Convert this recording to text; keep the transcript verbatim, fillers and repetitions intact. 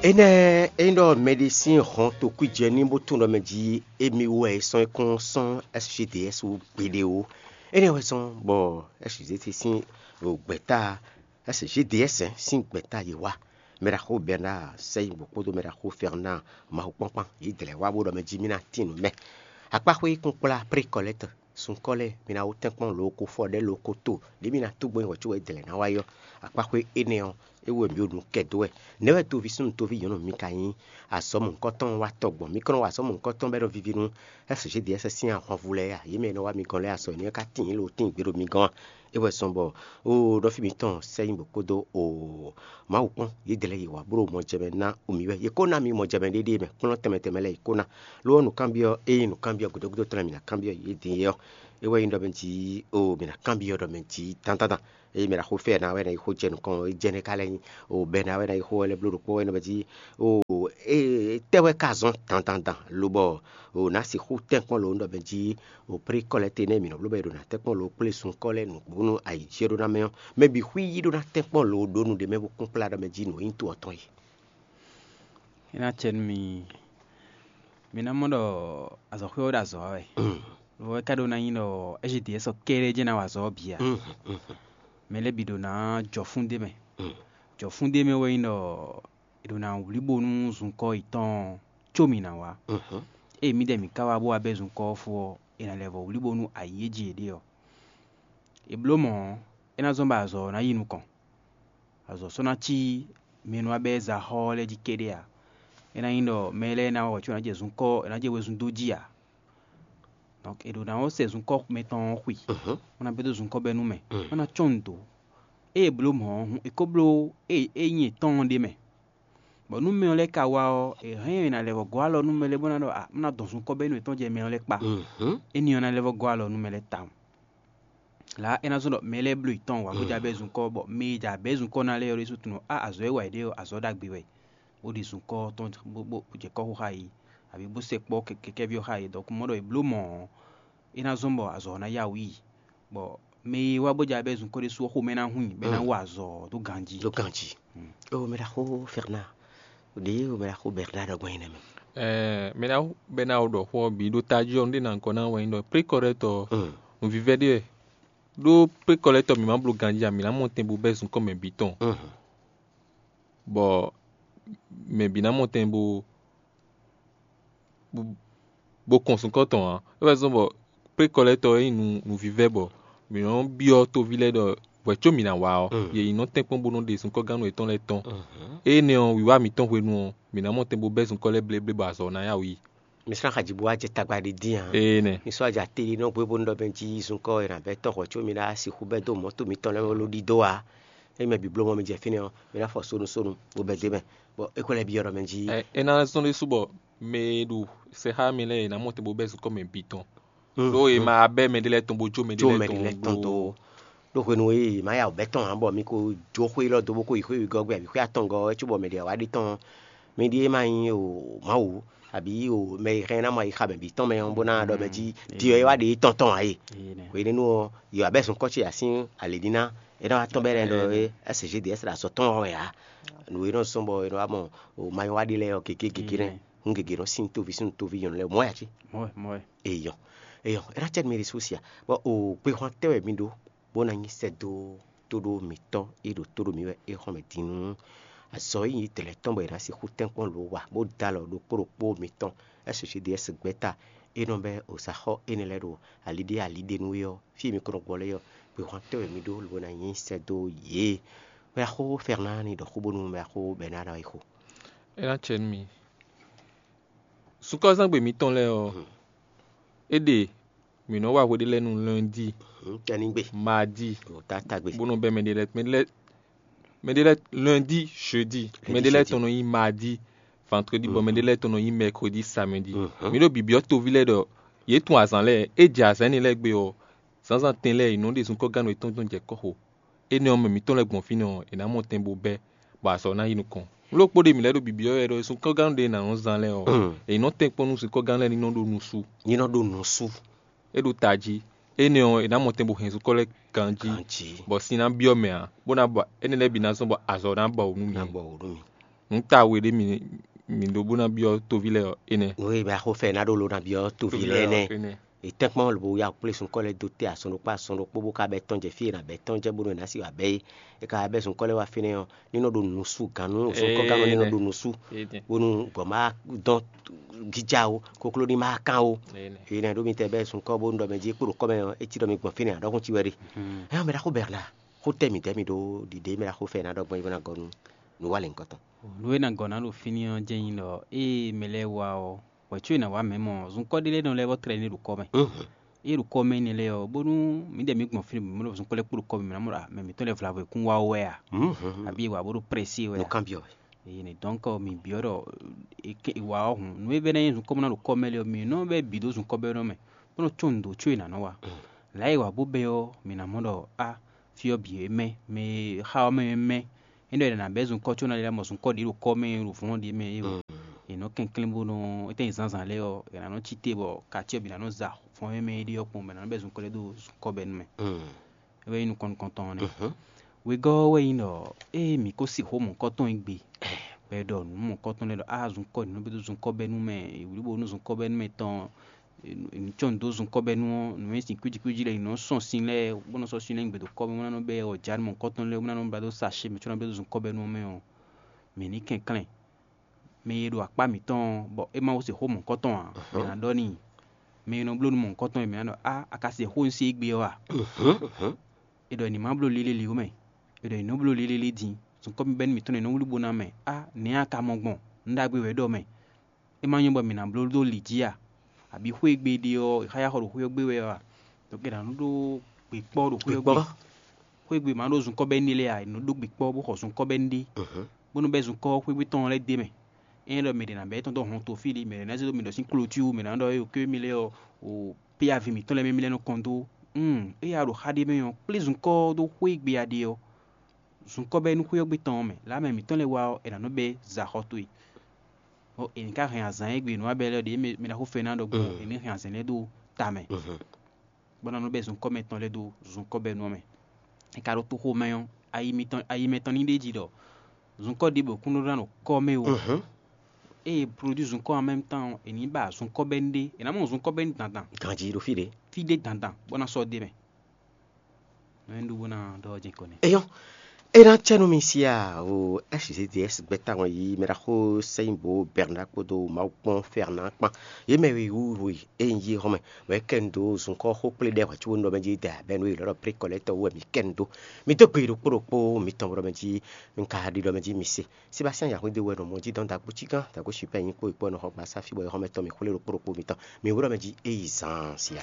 Énɛ́ é nyí ɖɔ mɛɖé sín hɔn tokwíjɛ ní bó tunwun ɖɔ mɛ jí émí wú wɛ é sɔ́n é kún sɔ́n S G D S wú gbeɖé ó. Énɛ́ wɛ zɔ́n bɔ S G D S sín gbɛ̌ta S G D S sín gbɛ̌ta yě wá. Mɛɖaxó Bernard Sɛyingbo kpódó mɛɖaxó Fernand Mawukpɔ́nkpán yě dlɛ̌ wá bó ɖɔ mɛ jí mí ná tín nǔ mɛ. Akpáxwé kún kplá Prékɔlɛ́tɔ sunkɔ́ lɛ́ɛ, mi ná wú tɛ́nkpɔ́n lǒ ko fɔ ɖɛ́ lǒ ko to ɖě mi ná tó gbɔn nyí hwɛ̌ có wɛ dlɛ̌ ná wá yɔ. Akpáxwé énɛ́ ɔ́, é wú wɛ mǐ ɖo nǔ kɛ dó wɛ. Nɛ̌ wɛ toví súnnu toví nyɔ̌nu mi ka nyí? Azɔ̌ mɔ̌hunkɔtɔn wá tɔ gbɔn, mi kɔn nɔ wa azɔ̌ mɔ̌hunkɔtɔn bɔ é nɔ víví nú S G D S sín ahwanvú lɛ́ɛ a? Yě mɛ e nɔ wá mi gɔ́n lɛ́ɛ, azɔ̌ énɛ́ ɔ́ ka tíin lǒ tíin gbé ɖo mi gɔ́n a? É wɛ zɔ́n bɔ oo ɖɔfí mitɔn Sɛyingbo kpódó oo Mawu kpɔ́n yě dlɛ̌ yě wá bló mɔjɛmɛ ná mǐ wɛ. Yě kó ná mǐ mɔjɛmɛ ɖéɖéé mɛ, kplɔ́n tɛnmɛ tɛnmɛ lɛ́ɛ yě kó ná. Lo ɔ́, nǔkanbyɔ́ ényí nǔkanbyɔ́ gǔdo gúdo tɔn lɛ́ɛ mǐ ná kanbyɔ́ yě din é ɔ́, é wɛ nyí ɖɔ mɛ jí oo mǐ ná kanbyɔ́ ɖɔ mɛ jí dandandan. Eye mɛ ɖo axo fɛ ná wɛ ná yi xó jɛ nukɔn, é jɛ nɛ́ ka lɛ́ nyi o bɛ ná wɛ ná yi xó wɛ lɛ́ bló ɖokpó wɛ nɔ bɛ jí o e tɛ wɛ ka zɔn dandandan lobɔ o ná sixú tɛnkpɔn lo ɖɔ bɛ jí o pré kɔlɛ te nɛ mǐ nɔ bló bɛ ɖo ná tɛnkpɔn lo kplé sun kɔ lɛ nǔgbó nú ayi jí ɖó ná mɛ ɔ́, mɛ bǐ xwí yí ɖó ná tɛnkpɔn lo ɖó nu ɖé mɛ bó kún kplá ɖɔ mɛ jí nǔ e nyí to ɔ́ tɔn é. É ná acɛ nú mi. Mi ná mɔ ɖɔ azɔ̌xwé ɔ́ ɖo azɔ̌ wa wɛ. Lo ɔ́ é ka ɖó ná nyí ɖɔ S G D S ɔ́ kɛ́ɖɛ́ jɛ́n ná wa azɔ̌ ɔ́ bǐ ǎ. Mɛ lɛ́ɛ bǐ ɖo ná jɔ fún d'é mɛ. Jɔ fún d'é mɛ wɛ nyí ɖɔ è ɖo ná wlí bónú zunkɔ́ yětɔn có mǐ ná wá. Ée mǐdɛɛ mǐ ka wá bó wá bɛ́ zunkɔ́ ɔ́ fó ɔ́, è nǎ lɛ́ vɔ wlí bónú ayǐ e jí yě ɖe ɔ́, è bló mɔ̌ ɔ́, é ná zɔ́n bɔ azɔ̌ ɔ́ ná yi nukɔn. Azɔ̌ sɔ́ ná cí mɛ e nɔ wá bɛ́ za xɔ ɔ́ lɛ́ɛ jí kɛ́ɖɛ́ ǎ. É ná nyí ɖɔ mɛ lɛ́ɛ ná wá hwɛ̌ có ná jɛ zunkɔ́, è nǎ jɛ wezun dó jí ǎ. Donc è ɖǒ ná ɔ́ sɛ zunkɔ́ mɛtɔn ɔ́ xwi, bó ná bɛ́ dó zunkɔ́ bɛ́ nú mɛ, bó ná cɔ́n nǔ dó. Ée è bló mɔ̌ ɔ́ hǔn, è ko bló ée é nyí yětɔn ɔ́ ɖ'é mɛ. Bɔ nú mɛ ɔ́ lɛ́ɛ ka wá ɔ́, è hɛn ɛ ná lɛ́ vɔ gɔ́ alɔ nú mɛ lɛ́ɛ bó ná ɖɔ a má ná dɔn zunkɔ́ bɛ́ nú yětɔn jɛ mɛ ɔ́ lɛ́ɛ kpá. Énɛ́ ɔ́ ná lɛ́ vɔ gɔ́ alɔ nú mɛ lɛ́ɛ tawun. Lǎ é ná zɔ́n ɖɔ mɛ lɛ́ɛ bló yětɔn wǎ bó jɛ abɛ́ zunkɔ́, bɔ mɛ e jɛ abɛ́ zunkɔ́ ná lɛ́ɛ ɔ́ ɖésú tunwun ɖɔ á azɔ̌ e wa yě ɖe ɔ́, azɔ̌ ɖagbe wɛ, bó ɖi zunkɔ́ tɔn bó bó jɛ kɔ́xo xá yě, abǐ bó sɛkpɔ́ kɛkɛ́ví ɔ́ xá yě. Donc mɔ ɖɔ è bló mɔ̌ ɔ́, é ná zɔ́n bɔ azɔ̌ ɔ́ ná yá wǔ yi, bɔ mɛ e wá bó jɛ abɛ́ zunkɔ́ ɖésú ɔ́ xomɛ ná hun i, bɔ é ná wa azɔ̌ dó ganjí. Dó ganjí. O mɛ ɖaxó Fernand, ɖě o mɛ ɖaxó Bernard ɖɔ gbɔn nyí nɛ́ mɛ. Ɛɛ mɛ ná bɛ ná o ɖɔ xó ɔ́ bǐ ɖó tají ɔ́, nú ɖé ná gɔ́ ná wɛ nyí ɖɔ prékɔɖɛtɔ nǔvívɛ́ ɖé wɛ. Ɖó prékɔɖɛtɔ mǐ má bló ganjí ǎ, mǐ ná mɔ tɛn bó bɛ́ zunkɔ́ mɛ bǐ tɔn, bɔ mɛ bǐ ná mɔ tɛn bó bó kɔn sunkɔ́ tɔn ǎ. É wɛ zɔ́n bɔ kplékɔ lɛ́ɛ tɔn e nyí nǔvívɛ́ bɔ mǐ nɔ́ byɔ́ toví lɛ́ɛ ɖɔ hwɛ̌ có mǐ ná wá ɔ́, yě yi nɔ tɛ́nkpɔ́n bó nɔ́ ɖe sunkɔ́gánu yětɔn lɛ́ɛ tɔn. Énɛ́ ɔ́, wǐwá mǐtɔn hwenu ɔ́, mǐ ná mɔ tɛn bó bɛ́ sunkɔ́ lɛ́ɛ bléblé bɔ azɔ̌ ná yá wǔ yi. Mi srán xaji bó wá jɛ tagba ɖé dín ǎ. Ee nɛ. Mi sɔ́ aja tlí nɔ gbé bónú ɖɔ bɛn jí zunkɔ́ e nǎ bɛ́ tɔ́n hwɛ̌ có mi ná sixú bɛ́ dó mɔ̌ to mitɔn lɛ́ɛ mɛ ló ɖidó ǎ. Ényí mɛ bǐ bló mɔ mi jɛ fínɛ́ ɔ́, mi ná fɔ sónusónu bó bɛ́ dó mɛ, bɔ é ko lɛ́ byɔ́ ɖɔ mɛ jí. Ɛ é ná zɔ́n ɖésú bɔ mɛ e ɖo sɛxá mɛ lɛ́ɛ è nǎ mɔ te bó bɛ́ zunkɔ́ mɛ bǐ tɔn. Ɖó è ma bɛ́ mɛ ɖé lɛ́ɛ tɔn bó jó mɛ ɖé jó lɛ́ɛ mɛ ɖé lɛ́ɛ tɔn tɔn dó. Dó. Ɖó hwenu e è ma ya wǔ bɛ́ tɔn ǎ bɔ mi ko jó xwé élɔ́ dó bó ko yi xwé wěgɔ́ gbe abǐ xwé atɔngɔ́ ɔ́, cóbɔ mɛ ɖě wá ɖe tɔn ɔ́, mi ɖíe ma nyí o Mawu abǐ o mɛ e hɛn ná mɔ ayixa mɛ bǐ tɔn mɛ ɔ́ bó ná ɖɔ mɛ jí diɔ é wá ɖe tɔn tɔn ǎ e. Hwenɛ́nu ɔ́, yɔ abɛ́ zunkɔ́ ce asín alěɖíná é ná wá tɔ́n bɛ́ lɛ́ɛ ɖɔ é S G D S ɖo azɔ̌ tɔn wɛ ǎ. Nǔ e nɔ zɔ́n bɔ è nɔ wá mɔ o mayɔ́ wá ɖe lɛ́ɛ ɔ́ gěgé gěgé nɛ́. Hǔn gěgé nɔ sín tóví sín tóví nyɔ̌nu lɛ́ɛ mɔ̌ ya cí. Mɔ̌ wɛ, mɔ̌ wɛ. Eyɔ, eyɔ, é ná cɛ mi ɖésú sia. Bɔ o gbehwan tɛ́ wɛ mi ɖó bó ná nyí sɛ́ dó tóɖó mǐtɔn e ɖo tó ɖo mǐ wɛ é xɔ́n mɛ din nú azɔ̌ e nyí dlɛ̌ tɔn bɔ è nǎ sixú tɛ́nkpɔ́n lǒ wa bó dó alɔ ɖokpó ɖokpó mǐtɔn S G D S gbɛ́ta e nɔ bɛ́ ozaxɔ́ énɛ́ lɛ́ɛ ɖo ali ɖé ali ɖé nú é ɔ́, fí e mi ko nɔ gbɔ lɛ́ɛ ɔ́, gbehwan tɛ́ wɛ mi ɖó lobo ná nyí sɛ́ dó yě. Mɛ axó Fɛrnáni ɖɔ xó bónú mɛ axó Bɛnána yi xo. É ná cɛ nú mi. Sukɔ́zán gbe mǐtɔn lɛ́ɛ ɔ́, é ɖe mǐ nɔ́ wa hweɖé lɛ́ɛ nú lɛ́ndi, Tɛnigbe. Madi, Tatagbe. Bó nɔ bɛ́ mɛ ɖé lɛ́ɛ mɛ ɖé lɛ́ɛ mɛ ɖé lɛ́ɛ lɛ́ndi, jeudi, mɛ ɖé lɛ́ɛ tɔn nɔ nyí madi, vandredi, bɔ mɛ ɖé lɛ́ɛ tɔn nɔ nyí mɛkredi, samedi. Mǐ ɖo bibyɔ́ toví lɛ́ɛ ɖɔ yě tun azǎn lɛ́ɛ, é jɛ azǎn énɛ́ lɛ́ɛ gbe ɔ́, zǎnzǎn tɛn lɛ́ɛ è nɔ ɖe zunkɔ́gánu yětɔn tɔn jɛ kɔ́xo. Énɛ́ ɔ́, mɛ mǐtɔn lɛ́ɛ gbɔn fínɛ́ ɔ́, è nǎ mɔ tɛn bó bɛ́, bɔ azɔ̌ ná yi nukɔn. Nǔ ɖokpó ɖé mǐ lɛ́ ɖo bibyɔ́ wɛ ɖɔ zunkɔ́gánu ɖé è nǎ nɔ zán lɛ́ɛ ɔ́, è nɔ tɛ́nkpɔ́n nú zunkɔ́gánu lɛ́ɛ ní nɔ ɖó nusú. Ní nɔ ɖó nusú. É ɖo tají. Énɛ́ ɔ́, è nǎ mɔ tɛn bó hɛn zunkɔ́ lɛ́ɛ ganjí, Ganjí. Bɔ sin ná byɔ́ mɛ ǎ, bó ná bɔ énɛ́ lɛ́ɛ bǐ ná zɔ́n bɔ azɔ̌ ná ba wǔ nú mǐ. Ná bɔ wǔ nú mì. Nǔ ta we ɖé mì mì ɖó bó ná byɔ́ toví lɛ́ɛ ɔ́, énɛ́. Nǔ e mɛ axo fɛ ná ɖó lo ná byɔ́ toví lɛ́ɛ nɛ́. È tɛ́nkpɔ́n lobo yá kplé sunkɔ́ lɛ́ɛ dó tɛ́ azɔn ɖokpó azɔn ɖokpó bó ka bɛ́ tɔ́n jɛ fí e è nǎ bɛ́ tɔ́n jɛ bónú è nǎ sí wǎ bɛ́ é. È ka bɛ́ sunkɔ́ lɛ́ɛ wá fínɛ́ ɔ́, ní nɔ ɖo nǔsú gǎnnú sunkɔ́gannú ní nɔ ɖo nǔsú bónú gɔ̌ má dɔn gíjá ó, kokló ní má kán ó. Énɛ́ ɖó mi tɛ bɛ́ sunkɔ́ bónú ɖɔ mɛ jí é kpo ɖo kɔ́ mɛ ɔ́, é cí ɖɔ mi gbɔn fínɛ́ ǎ ɖɔhun cí wɛ ɖe. Ɛ́ mɛ ɖaxó Bɛrla, xó tɛ́ mǐdɛɛ mì ɖó ɖiɖe mɛ ɖaxó fɛ ná ɖɔ gbɔn yi bó ná gɔ́ nú nǔwanlɛ̌nkɔ tɔn. Nǔ e ná gɔ́ ná ɖo fínɛ́ ɔ́ jɛ́n nyí ɖɔ ée mɛ lɛ́ɛ wá ɔ́, wɛ̌ có è nǎ wá mɛ̌ mɔ zunkɔ́ ɖé lɛ́ɛ nɔ lɛ́ vɔ́ tlɛ ní ɖo kɔ́ mɛ. Ée ɖo kɔ́ mɛ énɛ́ lɛ́ɛ ɔ́, bónú mǐdɛɛ mǐ gbɔn fínɛ́ bǐ mɔ ɖɔ zunkɔ́ lɛ́ɛ kpo ɖo kɔ́ mɛ, mǐ ná mɔ ɖɔ mɛ mǐtɔn lɛ́ɛ vlavo è kún wá wɛ a? Àbí è wǎ bó ɖo prɛ́sí wɛ a? Nǔ kanbyɔ́ wɛ. Eye nɛ dɔn kɔ mi byɔ́ ɖɔ è wá ɔ́ hǔn nú é vɛ́ ná nyí zunkɔ́ ná ɖo kɔ́ mɛ lé ɔ́, mi nɔ bɛ́ bǐ dó zunkɔ́ bɛ́ nɔ mɛ, bó nɔ có nǔ dó có è nǎ nɔ wa. Lǎ e wǎ bó bɛ́ ɔ́, mi ná mɔ ɖɔ á, fí ɔ́ bǐ é mɛ, mɛ e xa ɔ́ mɛ é mɛ. É ɖɔ è nǎ bɛ́ zunkɔ́ có ná lɛ́ mɔ zunkɔ́ ɖě ɖo kɔ́ mɛ ɖo vɔ̌n ɖě mɛ é. È nɔ kɛnklɛ́n bó nɔ étɛ́ nyi zǎnzǎn lɛ́ɛ ɔ́, è nǎ nɔ cí te bɔ katí ɔ́ bǐ ná nɔ za fɔ́n e mɛ é ɖe ɔ́ kpɔ́n, bɔ è nǎ nɔ bɛ́ zunkɔ́ lɛ́ɛ dó zunkɔ́ bɛ́ nú mɛ. É wɛ nyí nukɔn nukɔntɔn ɔ́ nɛ́. Wegɔ́ ɔ́ wɛ nyí ɖɔ ée mǐ ko sixú mɔ̌kɔ́tɔn e gbe, bɔ è ɖɔ nǔ mɔ̌kɔ́tɔn lɛ́ɛ ɖɔ á zunkɔ́ nǔ bó dó zunkɔ́ bɛ́ nú mɛ, wǔlíbo nú zunkɔ́ bɛ́ nú mɛ tɔn, nǔ cɔ́ nǔ dó zunkɔ́ bɛ́ nú ɔ́, nǔ e sin kwíji kwíji lɛ́ɛ nɔ sɔ́ sin lɛ́ɛ bó nɔ sɔ́ sin lɛ́ɛ nyi gbe dó kɔ́ mɛ bó ná nɔ bɛ́ ɔ́ jǎ nú mɔ̌kɔ́tɔn lɛ́ɛ bó ná nɔ blá dó sa acé mɛ có ná blá dó zunkɔ́ bɛ́ nú ɔ́ mɛ ɔ́, mǐ ní kɛnklɛ́n. Mɛ e ɖo akpá mǐtɔn ɔ́, bɔ é ma ko se xó mɔ̌kɔ́tɔn ǎ, mǐ ná ɖɔ n'i. Mɛ e nɔ bló nú mɔ̌kɔ́tɔn e mǐ ná ɖɔ á, a ka se xó un se égbé ɔ́ a? È ɖɔ è ní má bló lélelí ó mɛ. È ɖɔ è nǐ nɔ bló lélelí din. Zunkɔ́ bɛ́ nú mǐtɔn e nɔ wlí bó ná mɛ. Á, nɛ̌ a ka mɔ gbɔn? Nǔ ɖagbe wɛ é ɖɔ mɛ. É ma nyɔ́ bɔ mǐ ná bló dó lǐ jí a? Abǐ xwé e gbe è ɖe ɔ́, è xá yá xɔ ɖo xwé ɔ́ gbe wɛ a? Donc è nǎ nɔ ɖó gběkpɔ́ ɖo xwé ɔ́ gbe. Xwé e gbe mǎ ɖó zunkɔ́ bɛ́ ní ɖe lɛ́ɛ a, è nɔ ɖó gběkpɔ́ bó xɔ zunkɔ́ bɛ́ ní ɖe. Bónú bɛ́ zunkɔ́ xwégbé tɔn lɛ́ɛ d'é mɛ. Ényí ɖɔ mɛ ɖě ná bɛ́ tɔn dó hɔn tofí ɖé, mɛ ɖě ná zé dó mi ɖɔ sín klotú, mɛ ɖě ná ɖɔ éyo ké mi lɛ́ɛ ɔ́, o péyavi mǐtɔn lɛ́ɛ mɛ mi lɛ́ nɔ kɔn dó. Ée a ɖo xá ɖé mɛ ɔ́, kplé zunkɔ́ ɔ́ dó xwé e gbe a ɖe ɔ́, zunkɔ́ bɛ́ nú xwé ɔ́ gbé tɔn ɔ́ mɛ. Lě amɛ mǐtɔn lɛ́ɛ wá ɔ́, è nǎ nɔ bɛ́ za xɔ towe. Bɔ è ní ka hɛn azǎn e gbe nǔ wa bɛ́ lɛ́ɛ ɖě mɛ ɖaxó fɛ́ ná ɖɔgbó, è ní hɛn azǎn lɛ́ɛ ɖó ta mɛ. Bɔ ná nɔ bɛ́ zunkɔ́ mɛtɔn lɛ́ɛ dó zunkɔ́ bɛ́ nú ɔ́ mɛ. È ka ɖo toxo mɛ ɔ́, ayi mitɔn ayi mɛtɔn ní ɖ'é jí ɖɔ zunkɔ́ ɖěbǔ kún nɔ ɖó ná ɖo kɔ́ mɛ o. Ée è produit zunkɔ́ en même temps ɔ́, è nǐ ba zunkɔ́ bɛ́ ní ɖé, è nǎ mɔ zunkɔ́ bɛ́ ní dandan. Ganjí ɖo fí ɖé. Fí ɖé dandan, bó ná sɔ́ ɖ'é mɛ. Nɔ é ɖu bó ná ɖɔ ɔ́ jɛ́n kɔ nɛ́. Eyɔ́, é ná cɛ nú mi sia o S G D S gbɛtawun yi mɛ ɖaxó sɛnyíbo Bernard kpódó Mawu kpɔ́n Fernand kpán. Yě mɛ wíwú we é nyí yí xɔmɛ, bɔ é kɛ nu dó zunkɔ́ xó kplé ɖɛ́ hwɛ̌ cóbó nú ɖɔ mɛ jí da bɛ́ nú é lɔ̌ ɖɔ prékɔlɛ́tɔ́ wú wɛ mǐ kɛ nu dó. Mi dó gbe yi ɖokpó ɖokpó mitɔn bɔ ɖɔ mɛ jí un ka ɖi ɖɔ mɛ jí mi se. Sébastien Yahweh de wɛ nɔ mɔ jí dɔn dagbo cí gán dagbo sipɛ nyí kpó ìkpó nɔ xɔ gba sáfí bɔ é xɔmɛ tɔn mi xwlé ɖokpó ɖokpó mitɔn. Mi wú ɖɔ mɛ jí é yi zan sia.